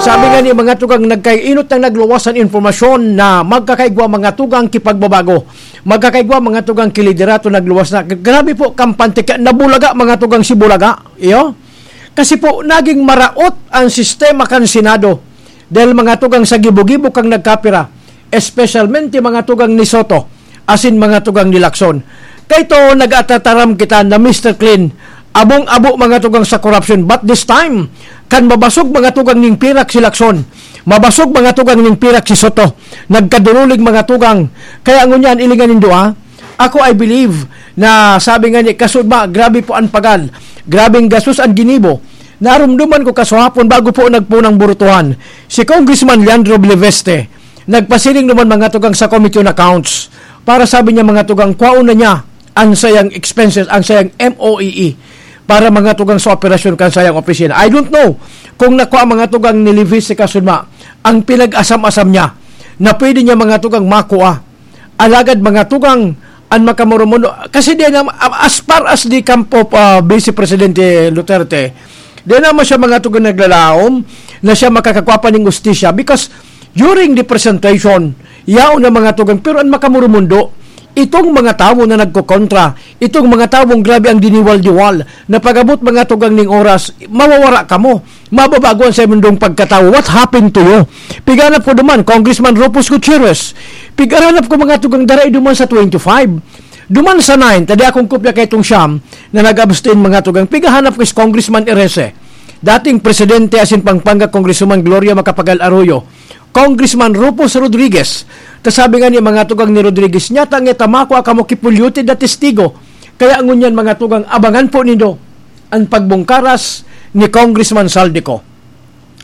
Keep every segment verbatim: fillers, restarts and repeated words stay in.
Sabi nga ni mga tugang, nagkainot nang nagluwas an impormasyon na magkakaigwa mga tugang ki pagbabago. Magkakaigwa mga tugang ki liderato nagluwas na. Grabe po, kampante ka, nabulaga mga tugang si Bulaga. Iyo? Kasi po, naging maraot ang sistema kan Senado. Dahil mga tugang sa gibo-gibo kang nagkapira, espesyalmente mga tugang ni Soto, asin mga tugang ni Lacson. Kaito, nag-atataram kita na Mister Clean, abong-abo mga tugang sa korupsyon. But this time, kan mabasog mga tugang ning pirak si Lacson, mabasog mga tugang ning pirak si Soto, nagkadurulig mga tugang. Kaya ngunyan, ilingan nindo, ah. Ako, I believe na sabi nga ni Kasudma, grabe po ang pagal, grabeng gastos ang ginibo. Narumduman ko kasuhapon bago po nagpunang burutuhan, si Congressman Leandro Bleveste, nagpasiring naman mga tugang sa Committee on Accounts para sabi niya mga tugang kwaon na niya ang sayang expenses, ang sayang M O E E para mga tugang sa operasyon kan sayang opisina. I don't know kung nakwa mga tugang ni Levis si Kasudma ang pinag-asam-asam niya na pwede niya mga tugang makua. Alagad mga tugang, an makamurumundo, kasi di na, as far as the camp of, ah, Vice Presidente Duterte, di naman siya mga tugang naglalaom na siya makakakwa pa ning ustisya because during the presentation, yaon na mga tugang, pero an makamurumundo, itong mga tawo na nagkokontra, itong mga tawong grabe ang diniwal-diwal, na pag-abot mga tugang ning oras, mawawara kamo. Mababago an saindong pagkatawo. What happened to you? Pighanap ko duman, Congressman Rufus Gutierrez. Pighanap ko mga tugang daray duman sa twenty-five. Duman sa nine, tadi akong kopya kay itong siyam na nag-abstain mga tugang. Pighanap ko is Congressman Erese. Dating presidente asin Pampanga Congresswoman Gloria Macapagal Arroyo. Congressman Rufus Rodriguez. Ta sabi nga ni mga tugang ni Rodriguez, "Nyata nga tamako aka mo kipulyote da testigo." Kaya ngunyan mga tugang, abangan po nindo an pagbungkaras ni Congressman Saldico.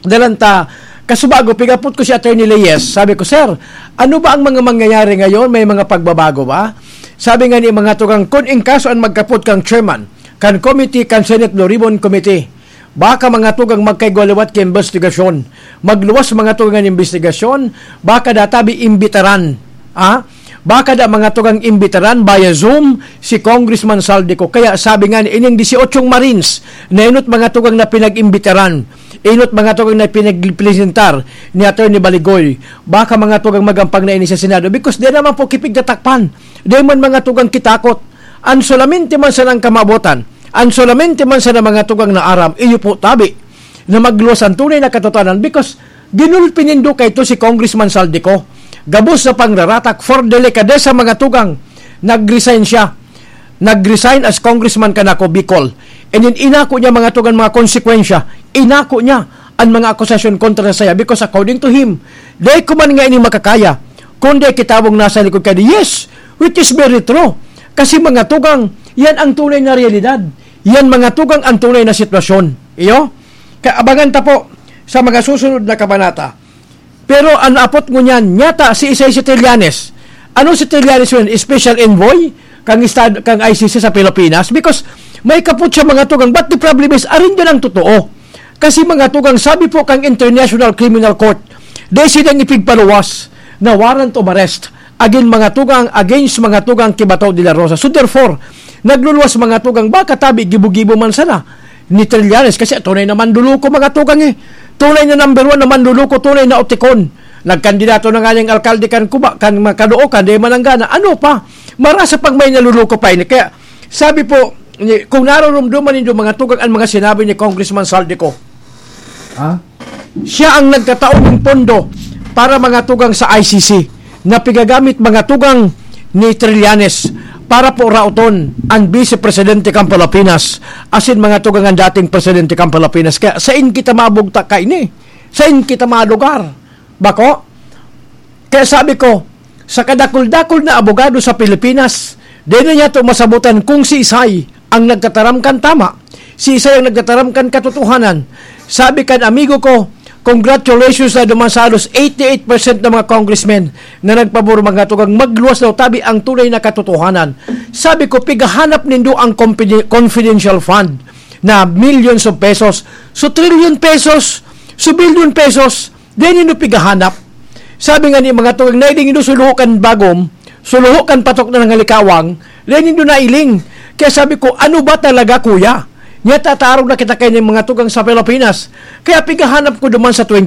Dalan ta, kasubago, pigapot ko si Attorney Leyes. Sabi ko, "Sir, ano ba ang mga mangyayari ngayon? May mga pagbabago ba?" Sabi nga ni mga tugang, "Kun in kaso an magkapot kang chairman kan committee, kan Senate Blue Ribbon Committee, baka mga tugang magkaigwa liwat ki imbestigasyon. Magluwas mga tugang an imbestigasyon, baka databi imbitaran." Ah? Baka da mga tugang imbitaran via Zoom si Congressman Saldico. Kaya sabi nga ni ining dieciocho Marines na inot mga tugang na pinag-imbitaran, inot mga tugang na pinagpresentar ni Attorney Baligoy, baka mga tugang magampang na ini sa Senado because di naman po kipigtatakpan. Di man mga tugang kitakot. An solamente man sanang kamabotan, an solamente man sana mga tugang na aram, iyo po tabi na magluwas ang tunay na katotohanan because ginulpi nindo kaito si Congressman Saldico. Gabos na pangraratak for delikadesa mga tugang. Nag-resign siya. Nag-resign as congressman kan Ako Bicol. And then inako niya mga tugang mga konsekwensya. Inako niya an mga akusasyon kontra sa saya because according to him, dai ko man nga ini makakaya, kundi kitawong nasa likod ka di. Yes, which is very true. Kasi mga tugang, yan ang tunay na realidad. Yan mga tugang ang tunay na sitwasyon. Iyo? Kaabangan ta po sa mga susunod na kabanata. Pero an apot ngunyan, nyata si Isay si Trillanes. Ano si Trillanes yun? Special envoy kang, estad, kang I C C sa Pilipinas? Because may kapot siya mga tugang. But the problem is, arin din ang totoo. Kasi mga tugang, sabi po kang International Criminal Court, dai silang ipigpaluwas na warrant of arrest agin mga tugang, against mga tugang ki Bato de la Rosa. So therefore, nagluluwas mga tugang, baka tabi gibo-gibo man sana ni Trillanes, kasi tunay na manluluko mga tugang eh. Tunay na number one na manluluko, tunay na utikon. Nagkandidato na nga niyang alkalde kan Cuba, kan Makaloocan, di mananggana. Ano pa? Marasa pang may naluluko pa ini. Kaya sabi po, ni, kung naroromdoman nindo mga tugang an mga sinabi ni Congressman Saldico, ha? Siya ang nagtatao ng pondo para mga tugang sa I C C na pigagamit mga tugang ni Trillanes para po raoton ang Vice Presidente kan Pilipinas asin mga tugang ang dating Presidente kan Pilipinas. Kaya sain kita mabugtak kaini? Sain kita malugar? Bako? Kaya sabi ko, sa kadakul-dakul na abogado sa Pilipinas, di na niya to masabutan kung si Isay ang nagtataram kan tama, si Isay ang nagtataram kan katotohanan. Sabi kan amigo ko, "Congratulations na duman sa halos eighty-eight percent ng mga congressmen na nagpabor mga tugang magluwas daw tabi ang tunay na katotohanan." Sabi ko, "Pigahanap nindo ang confide-, confidential fund na millions of pesos. So, trillion pesos, so, billion pesos, di nindo pigahanap." Sabi nga ni mga tugang, "Nailing nindo suluho kan bagom, suluho kan patok na nangalikawang, di nindo nailing." Kaya sabi ko, "Ano ba talaga, kuya? Nyata tarog na kita kay mga tugang sa Pilipinas." Kaya pigahanap ko duman sa twenty